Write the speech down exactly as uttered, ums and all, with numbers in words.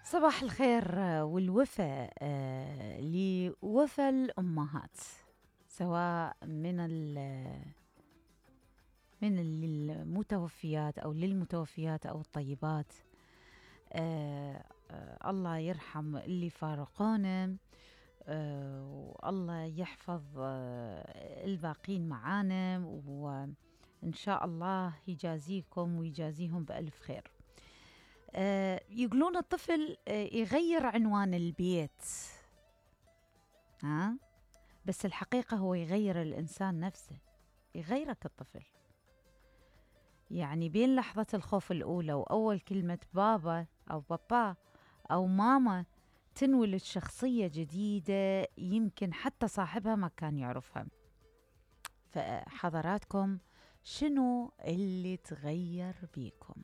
صباح الخير والوفا آه لوفا الأمهات، سواء من من المتوفيات أو للمتوفيات أو الطيبات. آه آه الله يرحم اللي فارقونا، آه والله يحفظ آه الباقين معانا، وإن شاء الله يجازيكم ويجازيهم بألف خير. آه يقولون الطفل آه يغير عنوان البيت، ها؟ بس الحقيقة هو يغير الإنسان نفسه، يغيرك الطفل. يعني بين لحظة الخوف الأولى وأول كلمة بابا أو بابا أو ماما تنولد شخصية جديدة يمكن حتى صاحبها ما كان يعرفها. فحضراتكم شنو اللي تغير بيكم؟